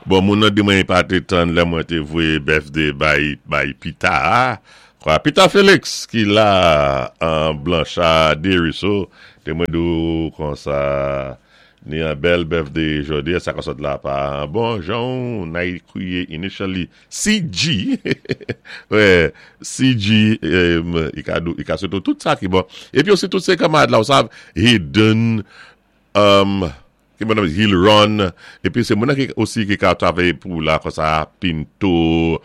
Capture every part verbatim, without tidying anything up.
Bon, moun nan di mwen pa té tann lè mwen té voyé birthday bay, bay Pita. Kwa, Pita Félix ki la an Blanchard Desruisseaux, té mwen di kon sa ni an bèl birthday jòdi, sa ka sot la pa bon jan nay kwié initially C G. Wè, C G, i ka dou, i ka swété tout sa ki bon. Épi osi tout sé kanmarad la, ou sav, Hayden, um, ki mwen Hill Run, épi sé moun ki osi ki ka travay pou la kon sa Pinto,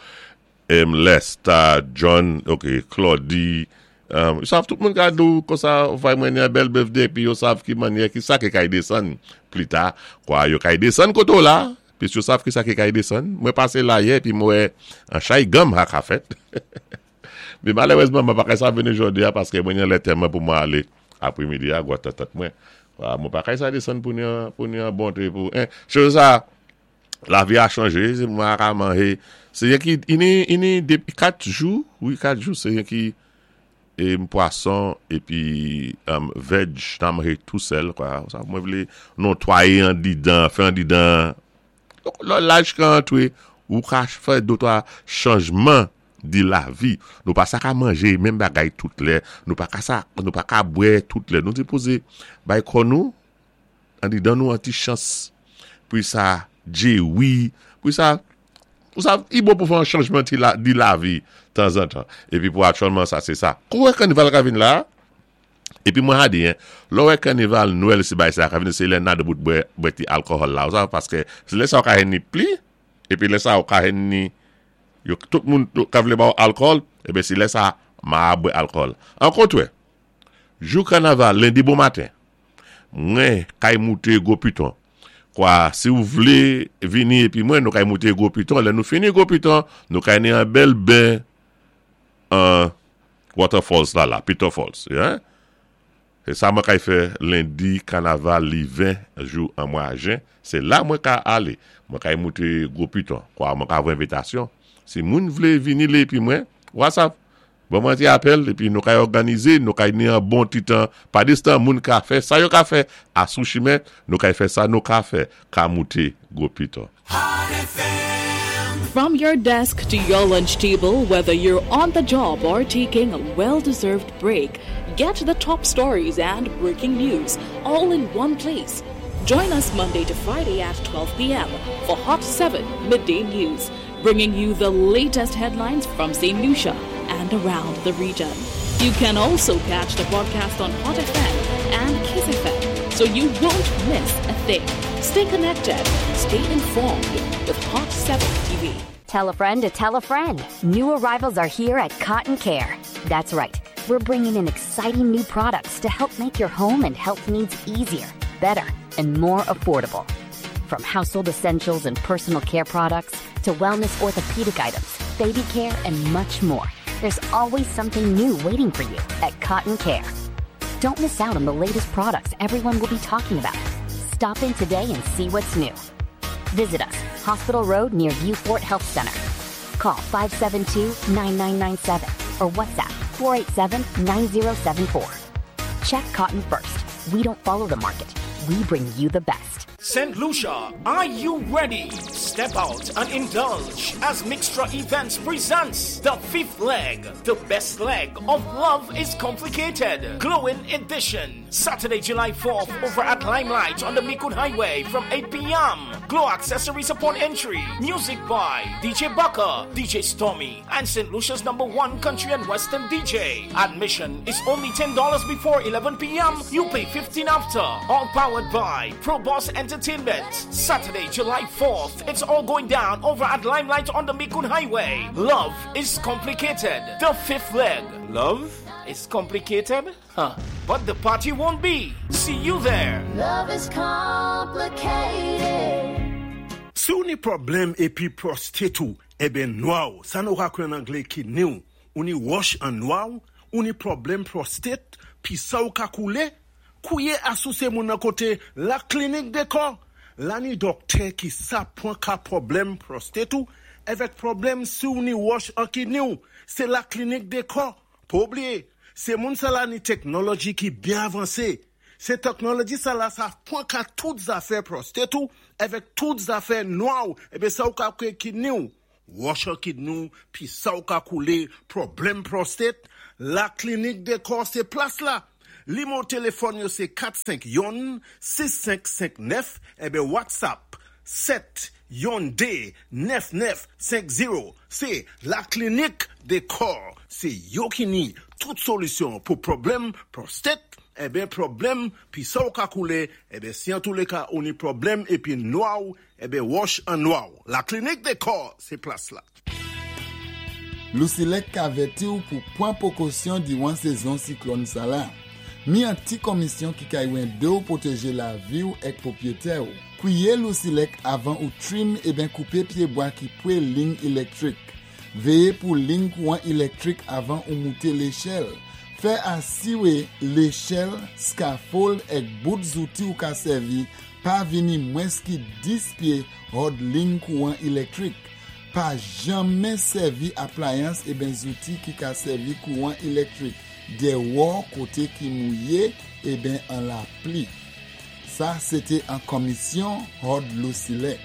M. Lester, John, ok, Claudie, um, yo sav tout moun ka dou kon sa fay mwen yon bèl birthday, pi yo sav ki manyè ki sa ki kay desann pli ta, kwa yo kay desann koto la, pi yo sav ki sa ki kay desann, mwen pasé la yè, pi mwen an chay gam ha ka fèt. Mi malerezman, mwen pa kay sa vini jodi a, paské mwen yon lè tèman pou mwen alé apwémidi a, gwa tèt tèt mwen. Mwen pa kay sa desann pou yon, pou yon bonté pou, eh, chose sa, lavi a chanjé, sé mwen ka manjé, sé yon ki, ini, ini, dépi kat jou, wi, kat jou, sé yon ki, é pwason, épi, um, veg, nan manje tou sèl, kwa, sa mwen vlé notwayé an didan, fè an didan, lò laj kan antwé, ou ka fè dotwa chanjman di lavi. Nou pa sa ka manjé menm bagay tout lè, nou pa ka sa, nou pa ka bwè tout lè. Nou sipozé bay kò nou, an didan nou an ti chans, pou sa djé wi, pou sa, pou sa, i bon pou fè an chanjman ti la, di lavi, tanzantan. Épi pou aktyèlman sa, sé sa. Kou wè kanival ka vin la, épi mwen ha di, hein, lò wè kanival Nwèl si bay sa ka vin, sé lè nan de bout bwè, bwè ti alkòhòl la, ou sa, paské sé lè sa ou ka hen ni pli, épi lè sa ou ka hen ni, yo, tout moun ka vlé ba ou alkòl, ébé sé lè sa, ma bwè alkòl. An kontwè, jou kanaval, lendi bon maten, mwen kay mouté Gwo Piton. Kwa, si ou vlé vini épi mwen, nou kay mouté Gwo Piton, lè nou fini Gwo Piton, nou kay ni an bèl ben an waterfalls la la, Piton Falls, hein? É sa mwen kay fè lendi kanaval li ven jou an mwa jen, sé la mwen ka alé. Mwen kay mouté Gwo Piton. Kwa, mwen ka voyé envitasyon. Si moun vlé vini lé épi mwen, WhatsApp, bon mwen ti apèl, épi nou kay òganizé, nou kay ni an bon ti tan, pa distan moun ka fè, sa yo ka fè, a sou chimen, nou kay fè sa nou ka fè, ka mouté Gwo Piton. From your desk to your lunch table, whether you're on the job or taking a well deserved break, get the top stories and breaking news all in one place. Join us Monday to Friday at twelve p m for Hot seven Midday News, bringing you the latest headlines from Saint Lucia and around the region. You can also catch the broadcast on Hot F M and Kiss F M, so you won't miss a thing. Stay connected, stay informed with Hot seven T V. Tell a friend to tell a friend. New arrivals are here at Cotton Care. That's right. We're bringing in exciting new products to help make your home and health needs easier, better, and more affordable. From household essentials and personal care products to wellness orthopedic items, baby care, and much more. There's always something new waiting for you at Cotton Care. Don't miss out on the latest products everyone will be talking about. Stop in today and see what's new. Visit us, Hospital Road near Vieux Fort Health Center. Call five seven two, nine nine nine seven or WhatsApp four eight seven, nine zero seven four. Check Cotton first. We don't follow the market. We bring you the best. Saint Lucia, are you ready? Step out and indulge as Mixtra Events presents the fifth leg, the best leg of Love is Complicated, Glowing Edition. Saturday, July fourth, over at Limelight on the Micoud Highway from eight p m. Glow accessories upon entry. Music by D J Bucker, D J Stormy, and Saint Lucia's number one country and western D J. Admission is only ten dollars before eleven p m. You pay fifteen after. All powered by Pro Boss Entertainment. Saturday, July fourth. It's all going down over at Limelight on the Micoud Highway. Love is Complicated. The fifth leg. Love is complicated? Huh. But the party won't be. See you there. Love is complicated. Si ou ni pwoblèm épi prostate ou, ébé nwa ou, sa nou ka kwé an anglé kidney ou, ou ni wòch an nwa ou, ou ni pwoblèm prostate, pi sa ou ka koulé, kouwé asou sé moun nan koté la Klinik Dekò. La ni dòktè ki sa pwan ka pwoblèm prostate ou, èvèk pwoblèm si ou ni wòch an kidney ou, sé la Klinik Dekò. Pa oubliyé, sé moun sa la ni teknoloji ki byen avansé. Sé teknoloji sa la, sa pwan ka tout zafè prostate ou, avèk tout zafè nwa ou, ébé sa ou ka kwé kidney ou. Wòch an kidney ou, pi sa ou ka koulé, pwoblèm prostate, La Clinique des Corps, sé plas la. Nimewo téléfòn yo sé kat senk youn sis senk senk nèf, ébé WhatsApp sèt youn dé nèf nèf senk zewo. Sé La Clinique des Corps. Sé yo ki ni tout solisyon pou pwoblèm prostate, ébé pwoblèm pi sa ou ka koulé, ébé si an tou lé ka ou ni pwoblèm épi nwa ou, ébé wòch an nwa ou. La Clinique des Corps, sé plas la. Lusilek ka avèti ou pou pwan pwékosyon diwan sézon siklòn sa la. Mi an ti komisyon ki ka édé ou pwotéjé lavi ou èk pwopwété ou. Kwiyé Lusilek avan ou trim ébén koupé pyébwa ki pwé lign ilektrik. Véyé pou lign kouwan ilektrik avan ou mouté léchèl. Fè asiwé léchèl, scaffold èk bout zouti ou ka sèvi pa vini mwens ki dis pyé hòd lign kouwan ilektrik. Pa janmen sèvi aplayans ébén zouti ki ka sèvi kouwan ilektrik déwò koté ki mouyé ébén an lapli. Sa, sété an komisyon hòd Lusilek.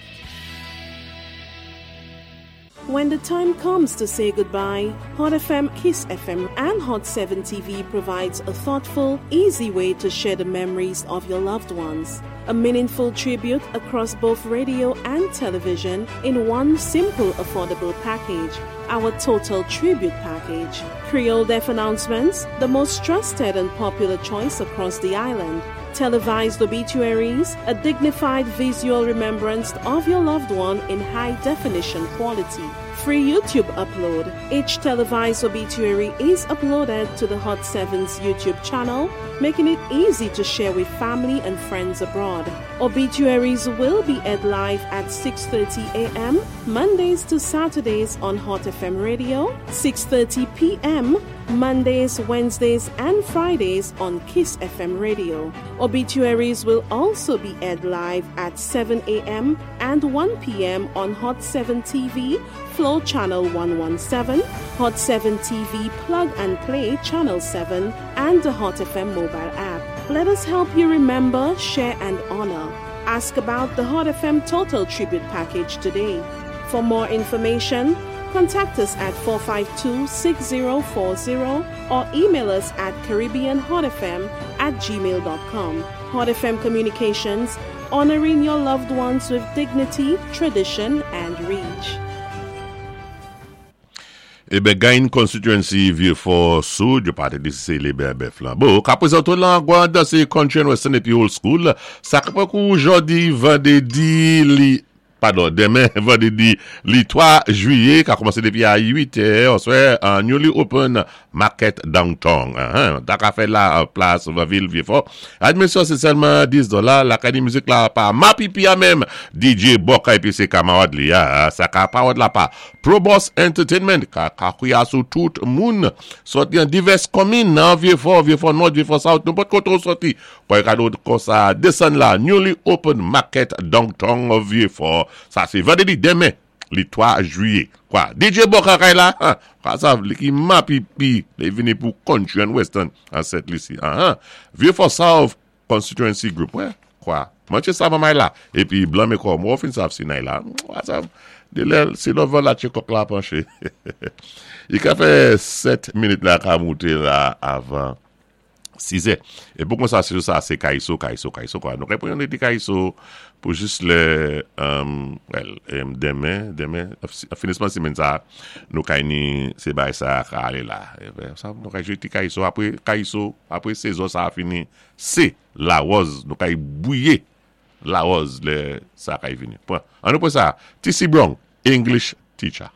When the time comes to say goodbye, Hot F M, Kiss F M, and Hot seven T V provides a thoughtful, easy way to share the memories of your loved ones. A meaningful tribute across both radio and television in one simple, affordable package. Our Total Tribute Package. Creole Death Announcements, the most trusted and popular choice across the island. Televised obituaries, a dignified visual remembrance of your loved one in high definition quality. Free YouTube upload. Each televised obituary is uploaded to the Hot seven's YouTube channel, making it easy to share with family and friends abroad. Obituaries will be aired live at six thirty a m. Mondays to Saturdays on Hot F M Radio, six thirty p m. Mondays, Wednesdays, and Fridays on Kiss F M Radio. Obituaries will also be aired live at seven a m and one p m on Hot seven T V, Flow Channel one one seven, Hot seven T V Plug and Play Channel seven, and the Hot F M mobile app. Let us help you remember, share, and honor. Ask about the Hot F M Total Tribute Package today. For more information, contact us at four five two six zero four zero or email us at CaribbeanHotFM at gmail dot com. Hot F M Communications, honoring your loved ones with dignity, tradition, and reach. Ébé gain constituency Vieux-Fort Sud, yo pa té di si sé Lébè Bèf Flambeau. Ka pwézanté lan gwan dansé country and western épi old school. Sa ka pwan kou jòdi vandédi li, padon, denmen vandédi li twa jwiyé, ka koumansé dépi a uit è, answè, an newly open market downtown. Uh-huh. Ta ka fè la plas vil Vieux-Fort. Admisyon sé sèlman dis dola, la ka ni mizik la pa Mapipi a menm, D J Boka épi sé kamarad li a, sa ka pawòd la pa Probos Entertainment, ka ka kouya sou tout moun, sòti an divès komin nan Vieux-Fort, Vieux-Fort Nord, Vieux-Fort South, nou pot koto sòti, kwa yon kado kon sa desann la, newly open market downtown Vieux-Fort, sa sé vandédi denmen, li twa jwiyé. Kwa, D J Boka kay la, kwa sa li ki Mapipi, li vini pou country and western an Sent Lisi. Aha. Vieux-Fort South Constituency Group, wè, kwa, manche sa mamay la, épi blan mé kò, mou fin sav si nay la, kwa sa, de lè, si lò van la tché kòk la panché. I ka fè sèt minit la ka mouté la avan sis è. É pou kon sa, se sa, sé Kaiso, Kaiso, Kaiso, kwa. Nou repon yon ti Kaiso pou jis lè, um, well, um, denmen, denmen, finisman simenn sa, nou kay ni sé bay sa ka alé la. E ben, sa, nou kay jwé ti Kaiso, apwé Kaiso, apwé sézon sa a fini, sé Larose, nou kay bouyé Larose lè sa kay vini. Pwan. An nou pwan sa, T C. Brown, English Teacher.